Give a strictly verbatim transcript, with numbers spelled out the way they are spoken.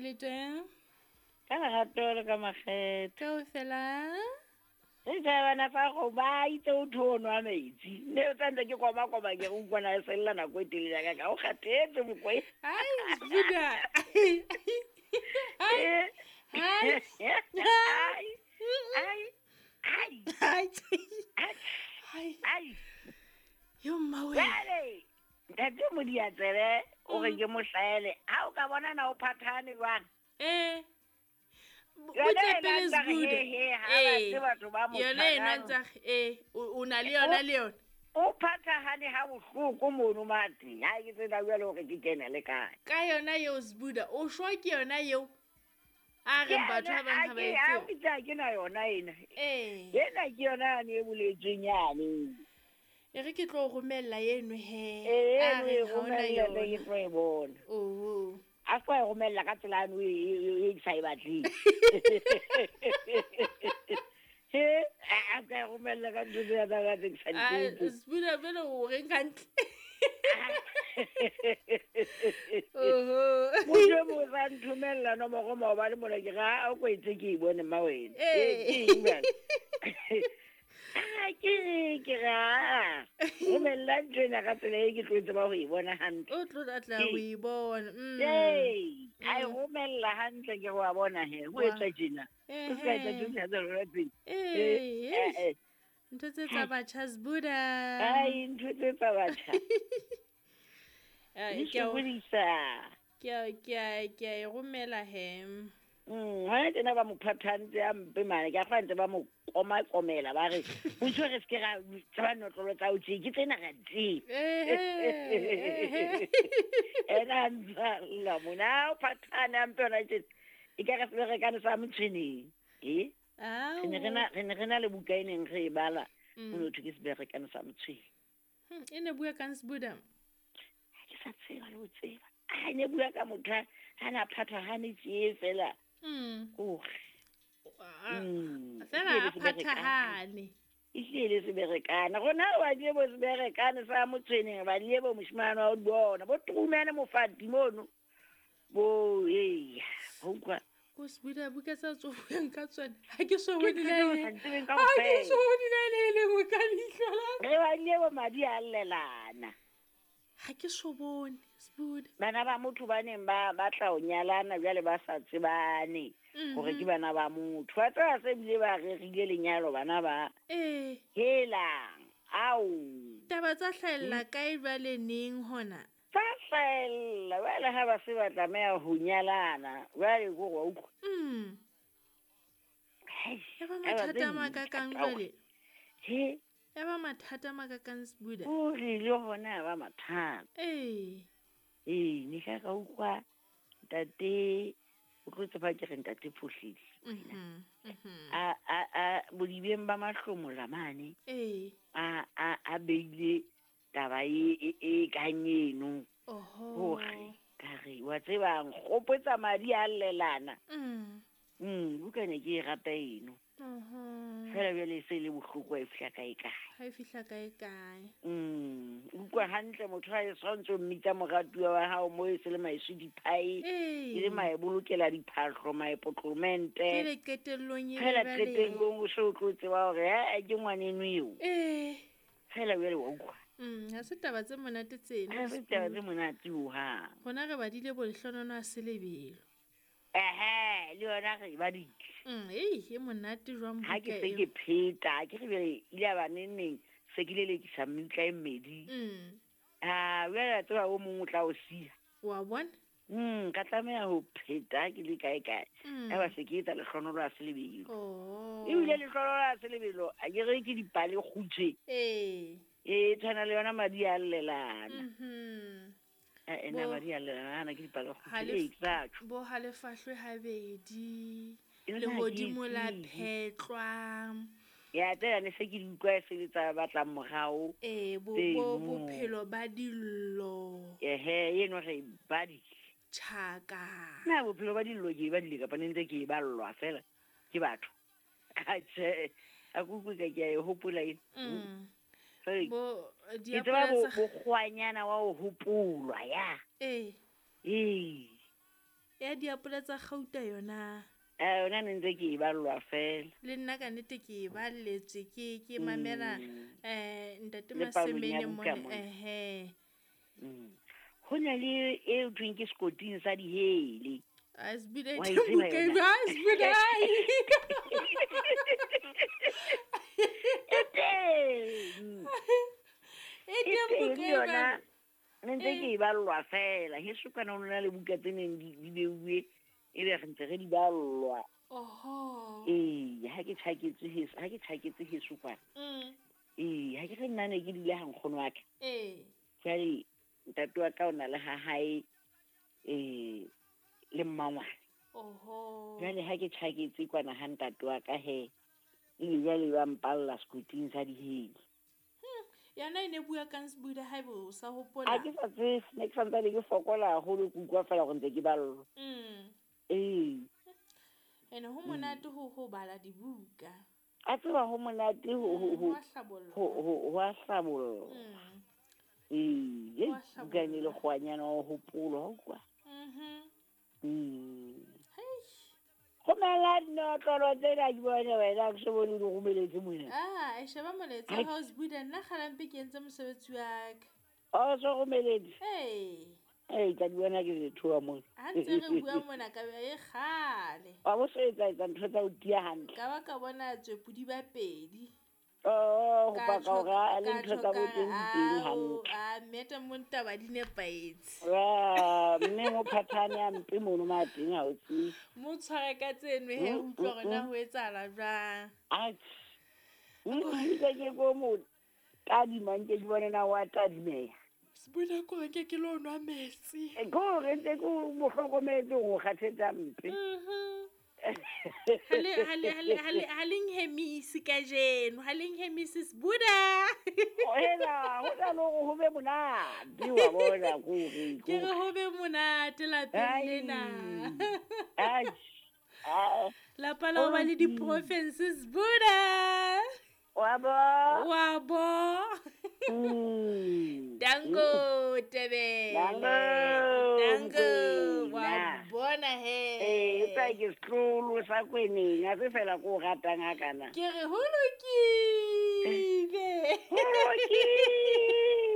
Kae le teng? Ka lerato le ka makgethe. Kaofela. Re tjhabana fa go ba itse o tho nwa metsi. Ne o tsantse ke koma koma ke go utlwana e sella nako e telele ka ka o kgathetse mokwe. Ai, Buda. Ai. Ai. Ai. Ai. Ai. Ai. Ai. Ai. Yo mmawe. Jwale, ntate Modiatsebe o re ke mo hlaele. Ha o ka bona na o phathane jwang? Eh. Yona e nang he he ha ba tseba batho ba mo Yona e nwa ntsa eh o na le yona le yona. O phathahane ha bohloko mono mate. Ha ke tsena jwale hore ke kene le kae. Ka yona eo Sbuda, o shwa ke yona eo. A re batho ba bang ha ba e tsebe. Ke a ke na yona ena. Eh. Ena ke yona yane e boletsweng yane. E re ke tlo romella eno he. Eh, A re ha ona romella yona. ke tlo e bona. Oho. A se o romella ka tsela eno e e ke sa e batleng. He, a ka romella ka ntho tse tsa tse ke sa di A tsebe. Sbuda vele o reng hantle. Oho. Motho e mong o sa nthomella nomoro maobane mona ke re, "Ah, o kwetse ke e bone mma wena." Eh. Eh, ke eng jwale? Ah, ke re ke re, ah, romella ntho ena ka tsela e ke tlo e tseba ho e bona hantle. O tlo tla ho e bona. Mm. Ee, a e Mm. romella hantle ke re wa bona he, ho Wa. etswa tjena. O ska etsa Ehe. ntho tsena tsa rona tsena. Eh, Eh, eh. eh, eh. Ntho tse tsa batjha Sbuda. Ai, ntho tse tsa batjha. Eh, Di ke a o- sokodisa. ke a ke a ke a e romela he. Mm, hona tjena ba mo phathantse a mpe mane, ke a kgona ntse ba mo komakomela ba re, "Motho re se ke ra tseba notlolo tsa ho tje, ke tsena ra di tseba." Ehe. Ehe. Ena a ntsa lla mona, o phathane a mpe hona tjena. Ekare seberekane sa motshweneng. Eh? Re ne re na, re ne re na le buka e neng re e bala, Mm. ho no thwe ke seberekane sa motshweneng. Hmm, e ne bua kang Sbuda? Ha ke sa tseba le ho tseba. A ne bua ka motho a ha na phathahane tje fela. Mm. Hore. Ah, Mm. Fela Ehlile a seberekane. phathahane. Ehlile le seberekane. Rona re badile bo seberekane sa motshweneng, re badile bo moshemane wa ho di bona, bo Truman Mofati mono. Bo eya, ho utlwa. Ko Sbuda buka tsa tso buang ka tsona. Ha ke so Ke bone ntho le tseo e sa di tsebeng Ha ke kaofela. so bone le e le nngwe ka leihlo la ka. Re badile bo madi a llelana. Ha ke so bone Sbuda. Bana ba motho ba neng ba batla ho nyalana jwale ba sa tsebane hore ke Mhm. bana ba motho. Wa tseba se bile ba rerile lenyalo bana ba. Eh. Helang, ao. Taba tsa hlahella kae jwale neng hona? Tsa hlahella jwale ha ba se ba tlameha ho nyalana. Jwale ke hore wa utlwa. Mm. Hei, Ya ba taba mathata tse a makakang thata jwale. He. Ya ba mathata a makakang Sbuda. O re le hona ya ba mathata. Eh. Ee, ne ka ka utlwa ntate, o tlo tseba ke re ntate Phohlile. Mhm. Mhm. A a a bodibeng ba mahlomola mane. Eh. A a a beile taba e e e kang eno. Oho. Hore ka re wa tseba nkgopotsa madi a llelana. Mm. Mm, buka ne ke e rata eno. Oho. Fela jwale e se le bohloko ha e fihla kae kae. Ha e fihla kae kae. Mm, utlwa hantle motho ha e swantse o mmitsa moratuwa wa hao mo e se le maeswi diphae. Ee. E le mae bolokela diphahlo, mae potlomente. Jwale qetellong e Fela be jwale- qetellong o se o tlo tseba hore, eh, ke ngwaneno eo. Eh. Fela jwale wa utlwa. Mm, ha se taba tse monate tseno. Ha se taba tse monate hohang. Rona re badile bo lehlonono a selebelo. Ehe, le yona re e badile. Mm, ei, e monate jwang Ha ke buka se eo. ke pheta, ke re jwale ile ya ba neng neng se ke lelekisa meutla e mmedi. Mm. Ah, jwale wa tseba o mong o tla o siya. Wa bona? Mm, ka tlameha ho pheta ha ke le kae kae. Mm. Ya ba se ke etsa lehlonono a selebelo. Oh. Ebile lehlonono a selebelo, a ke re ke dipale kgutshwe. Ee. E tshwana le yona madi a llelana. Mhm. Eh, eh, na Bo- madi a llelana, ana ke dipale kgutshwe. Halef- Ee, ke sa tjho. Bo halefahlwe habedi. Yona ha ke e Lehodimo la tsebe. phetlwa. Ya tsena ne se ke di utlwa e se le tsa batlang morao. Ee, bo, Tseno. bo bophelo ba dillo. Ehe, eno re e badile. Tjhaka. Na bophelo ba dillo ke e badile kapa ne ntse ke e ballwa fela ke batho. Atjhe, a ke utlwe ka ke a e hopola ena. Mm. Jwale, Bo, ke diapole tseba bo tsa- bokgwanyana wa ho hopolwa ya. Ee. Ee. Ya diapole tsa kgauta yona. Eh yona ne ntse ke e ballwa fela. Le nna ka nnete ke e balletswe ke ke mamela Mm. eh ntate Le palong ya Masemene buka mona mona. ehe. Mm. Ho na le e thweng ke sekoting sa dihele. A Sbuda Wa e e teng tseba buka yona? eo, ah, Sbuda, ai. E teng. E E teng teng buka e yona. jwalo. Ne ntse Eh. ke e ballwa fela. Heso kana ho na le buka tse neng di di beuwe ebe re ntse re di ballwa. Oho. Ee, ha ke tjhaketse heso, ha ke tjhaketse heso kwana. Mm. Ee, ha ke re nna ne ke dula ha nkgono wa ka. Ee. Jwale ntate wa ka o na le ha hae eh le mmangwane. Oho. Jwale ha ke tjhaketse kwana ha ntate wa ka he, ebe jwale ba mpalla sekoting sa dihele. Hmm. Yona e ne bua kang Sbuda haebe o sa Ha hopola? ke sa tsebe, ne ke santsane ke fokola haholo, ke utlwa fela hore ntse ke ballwa. Mm. Ee. Ene ho monate ho ho bala dibuka. A tseba ho monate ho ho Mm, ho ho a hlabolla. ho ho ho a hlabolla. Mm. Ee, Ho a buka ene le hlabolla. kgwanyana wa ho hopolwa, wa utlwa? Mhm. Mm. Hei. Romela dinotlolo tsena ke bone wena, ha ke so bone o di romeletse mona. Ah, e sheba molaetsa Hai. wa hao Sbuda, nna kgalampe ke entse mosebetsi wa ka. O so romeletse? Ee. Ee, tla di bona ke di theoha mona. Ha ntse re bua mona ka be e kgale. Wa bo so etsa etsa ntho tsa ho tiya hantle. Ka ba ka bona tswepodi ba pedi. Oh, ho Ka paka tjho hore a le ka ntho tjho tsa ka bo re teng di teng ao, hantle. a mmeta mo ntaba di nepahetse. Ah, mme mo phathane a mpe mono ma teng ha o tsebe. Mo tshware ka tseno he Mm, utlwa hore mm, na mm. ho etsahala jwang. Atjhe. Ntse ke ko mo tadima nke ke bone na wa tadimeha. Sbuda ko nke ke lo nwa metsi. E, ke hore ntse ke mo hlokometse hore o kgathetse hampe. Mhm. Ha le ha le ha le ha le ha le nhemise kajeno, ha le nhemise Sbuda. Hela, ho tla le hore ho be monate wa bona ke hore Ke ke re hore. ho be monate lapeng Ai. lena. Atjhe. Ah. Lapa la ho ba le Ho lokile. di-province Sbuda. Wa bo? Wa bo. Mm. Danko Tebele. Danko, Danko wa Mokwena. bona he. Ee, e tla ke setlolo sa kweneng, ha se fela ko o ratang hakana. Ke re ho lokile. Ho lokile.